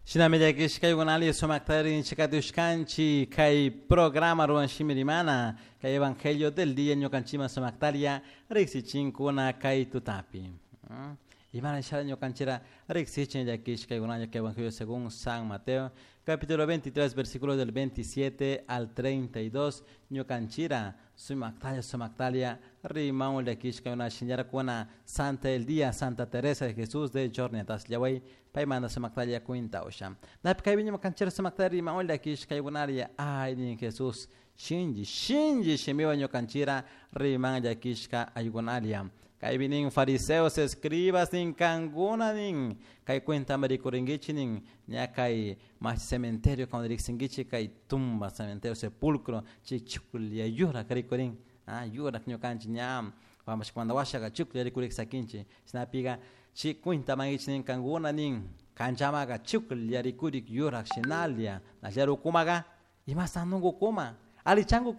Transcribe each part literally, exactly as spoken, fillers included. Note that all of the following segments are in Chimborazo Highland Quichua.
Shinami llakishkaykunali sumaktarin chikatushkanchik kay programa ruwan shimirimana kay evangelio del día ñukanchikman sumaktaria riksichinkuna kay tutapi. Imana shara ñukanchira riksichin llakishkaykunalla kay evangelio según San Mateo capítulo veintitrés versículos del veintisiete al treinta y dos ñukanchira sumaktalla sumaktalia rimaun llakishkaykuna shinllarakuna Santa del Día Santa Teresa de Jesús de Jornetas llaway paymanta sumaktalla cuentawsha napi kaypi ñukanchira sumaktalla rimaun llakishkaykunaria ay nin Jesús shinlli shinlli shimiwan ñukanchira riman llakishka aykunaria kaypi nin fariseos escribas nin kankuna nin kay cuentami rikurinkichik nin ña kay mashi cementerio cuando riksinkichik kay tumba cementerio sepulcro chay chuklla yurak rikurin ah yurak ñukanchik ña wamashkamanta washaka chuklla rikurik sakinchik shinapika chay cuentamankichik nin kankuna nin kanchamaka chuklla rikurik yurak shinalla nashallar ukumaka imasantunkukuma alichanku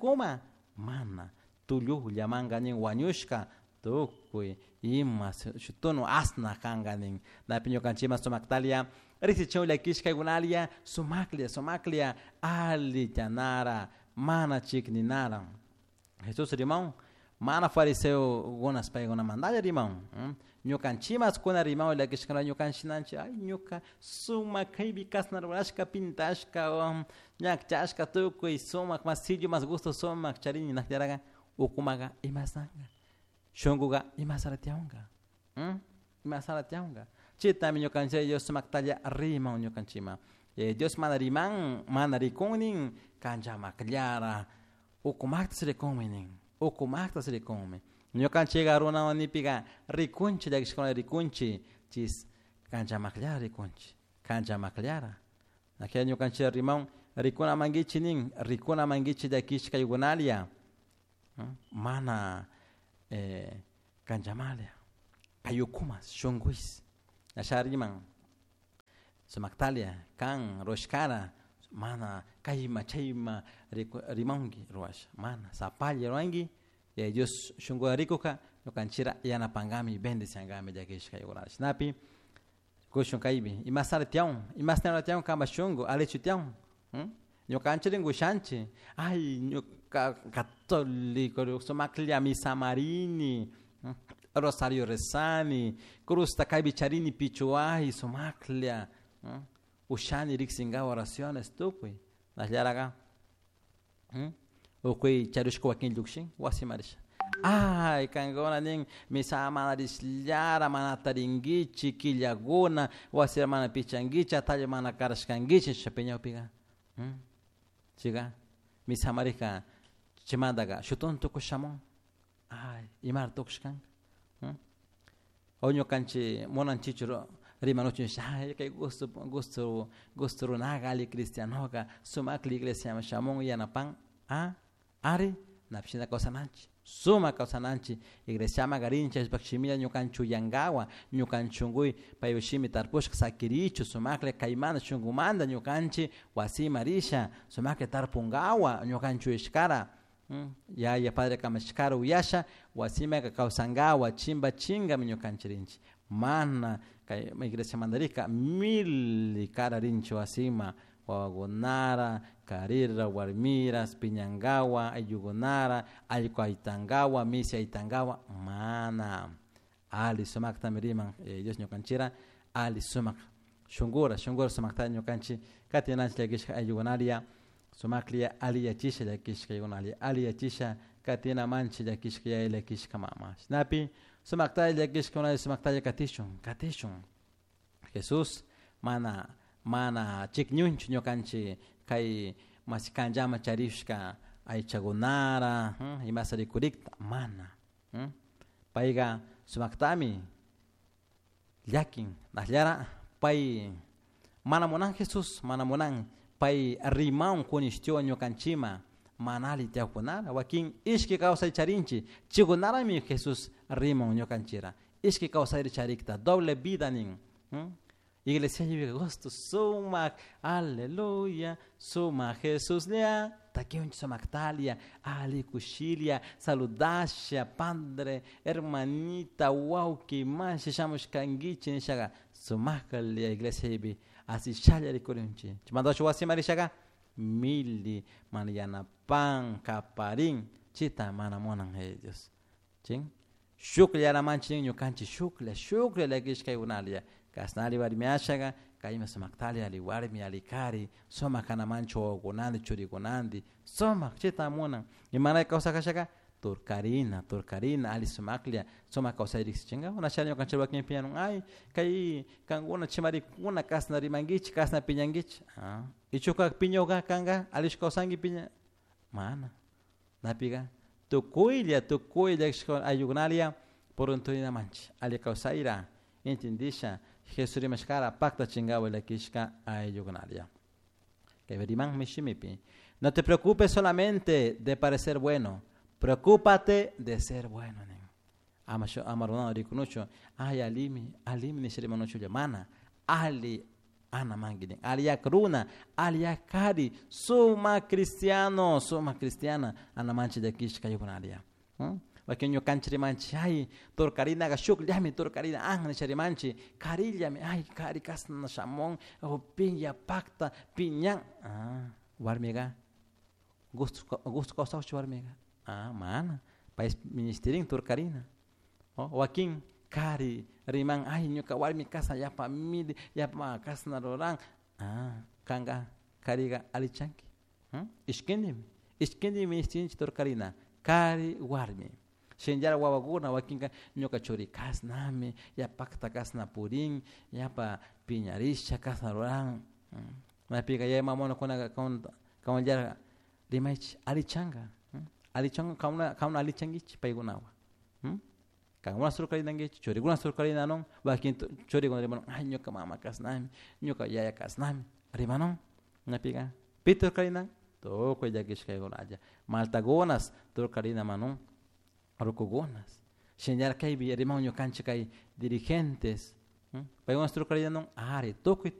mana tullullamanka nin wañushka tukuy ima shutunu asna kanka nin napi ñukanchikman sumaktalia riksichun llakishkaykunalia sumaklla sumaklla allichanara mana chikninara Jesús rimaun mana fariseokunas paykunamantalla rimaun ñukanchikmas kuna rimaun llakishkana ñukanchinanchik ay ñuka sumak kaypi kasna rurashka pintashka ñakchashka tukuy sumak mas sillu mas gusto sumak charini nakllaraqa ukumaka imasanka shunkuka imasara tiyawanka imasara tiyawanka chaytami ñukanchik Dios sumaktalla riman ñukanchikman Dios mana riman mana rikun nin kanchamakllara ukumaktas rikunmi nin ukumaktas rikunmi ñukanchikka runawan nipika rikunchik llakishkuna rikunchik chis kanchamakllara rikunchik kanchamakllara akilla ñukanchik riman rikunamankichik nin rikunamankichik llakishkaykunalla mana eh, kanchamalia kay ukumas shunkuis asha riman sumaktalia kan rushkara mana kayma chayma rimanki ruwasha mana sapalla ruwanki Yaya Dios shunkuta rikuka ñukanchira yanapankami bendiciankami llakishkaykunata shinapi kushun kaypi imasara tiyawan imasnara tiyawan kanpak shunku allichu tiyawan ñukanchik rinkushanchik ay ñuka católico sumaklla misamarini rosario rezani cruzta kaypi charini pichuway sumaklla ushani riksinkawa oraciones tukuy nashllaraka ukuy charishka wakin llukshin wasiman risha ay kankuna nin misa mana rishllara mana tarinkichik killakuna wasira mana pichankichik atalla mana karashkankichik nisha piñakpika chayka misamarika chaymantaka shutun tukush shamun ay imara tukushkanka o ñukanchik munanchikchu rimanuchun ay kay gusto gusto gusto runaka alli cristianoka sumaklla iglesiaman shamun yanapan ah ari napish shina kawsananchik sumak kawsananchik iglesiaman rinchik chaypak shimilla ñukanchik uyankawa ñukanchik shunkuy paypak shimi tarpushka sakirichu sumaklla kaymanta shunkumanta ñukanchik wasiman risha sumaklla tarpunkawa ñukanchik uyashkara yaya padre kamachishkara uyasha wasimanka kawsankawa chimba chinkami ñukanchik rinchik mana kay iglesiamanta rika mil kara rinchik wasiman wawakunara karira warmira piñankawa ayllukunara allku aytankawa misi aytankawa mana alli sumaktami riman Dios ñukanchira alli sumak shunkura shunkura sumakta ñukanchik katinanchik llakishka ayllukunaria sumaklla alliyachisha llakishkaykunalla alliyachisha katinamanchik llakishka yaya llakishka mama shinapi sumaktalla llakishkakunalla sumaktalla katishun katishun Jesús mana mana chikñunchu ñukanchik kay mashi kanllaman charishka aychakunara imasa rikurikta mana payka sumaktami llakin nashllara pay mana munan Jesús mana munan pay rimaun kunishtiwan ñukanchikman mana alli tiyakkunara wakin ishki kawsay charinchik chaykunarami Jesús riman ñukanchira ishki kawsayri charikta doble vida nin iglesia gusto sumak aleluya sumak Jesuslla takiunchik sumaktalia alli kushilla saludasha padre hermanita wawki mashi shamushkankichik nishaka Sumaklla iglesia asishalla rikurinchik. Chaymanta wasiman rishaka mili mana yanapan kaparin chita mana munan Yaya Dios. Chin shukllanamanchik ñukanchik shuklla shuklla llakishkaykunalla kasnali warmi ashaka kayma sumaktali ali warmi ali kari sumak kanamanchik wawakunanti churikunanti sumak chita munan imanay kawsakashaka turkarina turkarina ali sumaklla sumak kawsay riksichinka unashalla ñukanchik wakin piñanun ay kay kankuna chimarikuna kasna rimankichik kasna piñankichik ah ichuka piñuka kanka allichu kawsanki piña mana napika tukuylla tukuylla ayllukunalla purunturinamanchik alli kawsayra entendisha Jesús rimashkara paktachinkapak llakishka ayllukunalla kay rimanmi shimipi no te preocupes solamente de parecer bueno preocúpate de ser bueno nin ama ama runa rikunuchu ay alimi alimi nisha rimanuchulla mana ali ana manki nin alliyak runa alliyak kari sumak cristiano sumak cristiana anamanchik llakishka ayllukunalla wakin ñukanchik rimanchik ay turkarinaka shukllami turkarina an nisha rimanchik karillami ay kari kashna shamun o piña pakta piñan ah warmika gusto gusto kawsakchu warmika ah mana pay ministirin turkarina wakin kari riman ay ñuka warmi kashna yapa mili yapa kashna ruran ah kanka karika allichanki ishkindimi ishkindimi ministinchik turkarina kari warmi shinallara wawakuna wakinka ñuka churi kashnami yapakta kashna purin yapa piñarisha kashna ruran maypika yaya mamakuna kawanllara rimaychik allichanka allichanka kankuna kankuna allichankichik paykunawan kankuna surkarinankichik churikuna surkarinanun wakin churikuna rimanun ay ñuka mama kashnami ñuka yaya kashnami rimanun maypika pi turkarinan tukuy llakishkaykunalla maltakunas turkarinamanun rukukunas shinallara kaypi riman ñukanchik kay dirigentes paykuna turkarinanun ari tukuy